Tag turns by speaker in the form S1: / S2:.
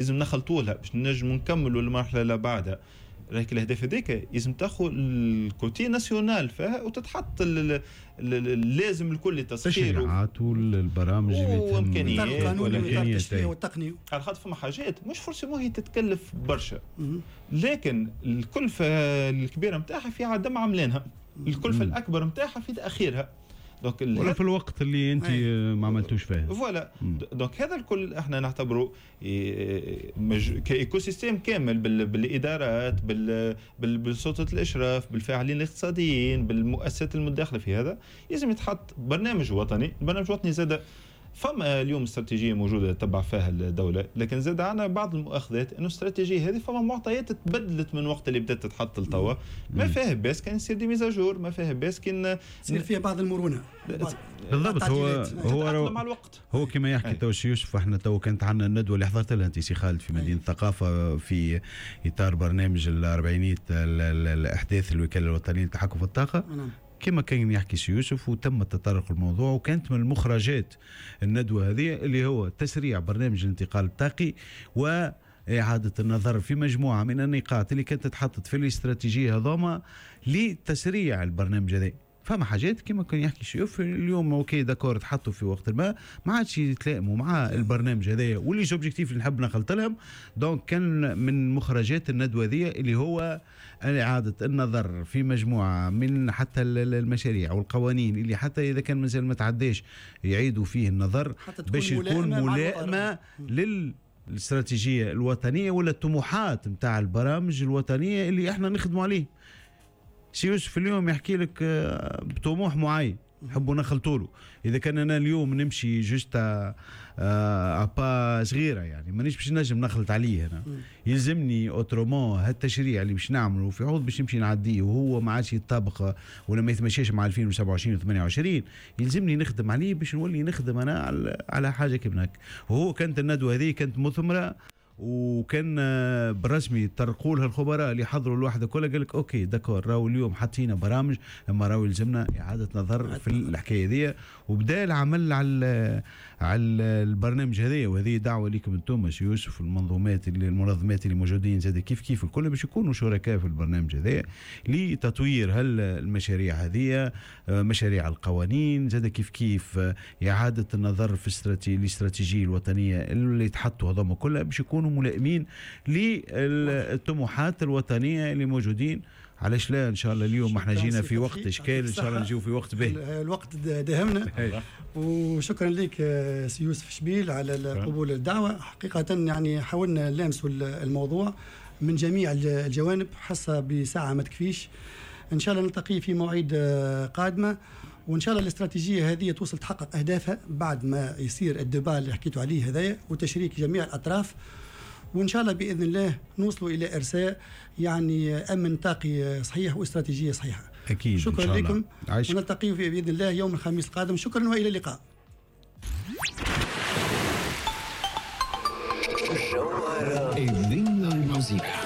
S1: لازم نخلطوا لها باش نجموا نكملوا المرحلة اللي بعدها. لكن الاهداف هذيك لازم تاخذ ال côté national فيها وتتحط اللازم الكل
S2: التسخير التشريعات والبرامج اللي
S1: وامكانيات
S2: والامكانيات
S3: والتقني،
S1: على خاطر فما حاجات مش forcément هي تتكلف برشا، لكن الكلفة الكبيرة نتاعها في عدم عملانها، الكلفة الاكبر نتاعها في تاخيرها،
S2: donc ولا في الوقت اللي انت ما عملتوش فيه.
S1: voilà، donc هذا الكل احنا نعتبره ك écosystème كامل بالادارات، بالسلطة الاشراف، بالفاعلين الاقتصاديين، بالمؤسسات المتداخله في هذا. لازم يتحط برنامج وطني. البرنامج الوطني زاد فما اليوم استراتيجية موجودة تتبع فيها الدولة، لكن زاد عندنا بعض المؤاخذات انه الاستراتيجية هذه فما معطيات تبدلت من وقت اللي بدات تتحط لتوا. ما فيها باس كان يصير des mises à jour، ما فيها باس كان
S3: يصير فيها بعض المرونة.
S2: بالضبط، هو
S1: مع الوقت.
S2: هو كما يحكي تو يوسف، احنا تو كانت عندنا الندوة اللي حضرت لها انت سي خالد في مدينة الثقافة في اطار برنامج الاربعينيه الاحداث الوكالة الوطنية للتحكم في الطاقة. كما كان يحكي سي يوسف وتم التطرق الموضوع، وكانت من المخرجات الندوة هذه اللي هو تسريع برنامج الانتقال الطاقي وإعادة النظر في مجموعة من النقاط اللي كانت تتحطت في الاستراتيجية هذوما لتسريع البرنامج هذا. فما حاجات كما كان يحكي شيوف اليوم OK d'accord تحطوا في وقت ما عادش يتلائموا مع البرنامج هذايا و les objectifs اللي نحب نخلط لهم. donc كان من مخرجات الندوة ذي اللي هو اعاده النظر في مجموعة من حتى المشاريع والقوانين اللي حتى اذا كان مازال ما تعداش يعيدوا فيه النظر باش يكون ملائمه للاستراتيجية الوطنية ولا الطموحات نتاع البرامج الوطنية اللي احنا نخدموا عليه. سي يوسف اليوم يحكي لك بطموح معين نحبوا نخلطوا له. اذا كان انا اليوم نمشي juste à pas صغيرة يعني مانيش باش نجم نخلط عليه انا، يلزمني autrement هالتشريع اللي باش نعمله في عوض باش نمشي نعديه وهو ما عادش يتطابق ولا ما يتمشاش مع 2027 و28، يلزمني نخدم عليه باش نولي نخدم انا على حاجة كيف هكا. وهو كانت الندوة هذه كانت مثمرة، وكان بالرسمي طرقوا لها الخبراء اللي حضروا الوحدة كلها، قال لك OK d'accord راهو اليوم حطينا برامج اما راهو يلزمنا اعاده نظر في الحكاية هذه، وبدا العمل على البرنامج هذايا. وهذه دعوه لكم انتم سي يوسف المنظومات اللي المنظمات اللي موجودين زاد كيف كيف الكل باش يكونوا شركاء في البرنامج هذايا لتطوير هالمشاريع هذه، مشاريع القوانين زاد كيف كيف اعاده النظر في الاستراتيجية الوطنية اللي تحطوا هذوما كلها باش يكونوا ملائمين للطموحات الوطنية اللي موجودين. علاش لا، ان شاء الله اليوم احنا جينا في وقت اشكال، ان شاء الله نجيو في وقت باهي.
S3: الوقت داهمنا. وشكرا لك سي يوسف شبيل على قبول الدعوة. حقيقة يعني حاولنا نلامسوا الموضوع من جميع الجوانب، حصة بساعة ما تكفيش. ان شاء الله نلتقي في مواعيد قادمة، وان شاء الله الاستراتيجية هذه توصل تحقق اهدافها بعد ما يصير ال débat اللي حكيتوا عليه هذايا وتشريك جميع الاطراف، وان شاء الله باذن الله نوصلوا الى ارساء يعني امن طاقي صحيح واستراتيجيه صحيحه.
S2: اكيد.
S3: شكرا لكم، ونلتقي باذن الله يوم الخميس القادم. شكرا والى اللقاء.
S4: الدنيا الموسيقى.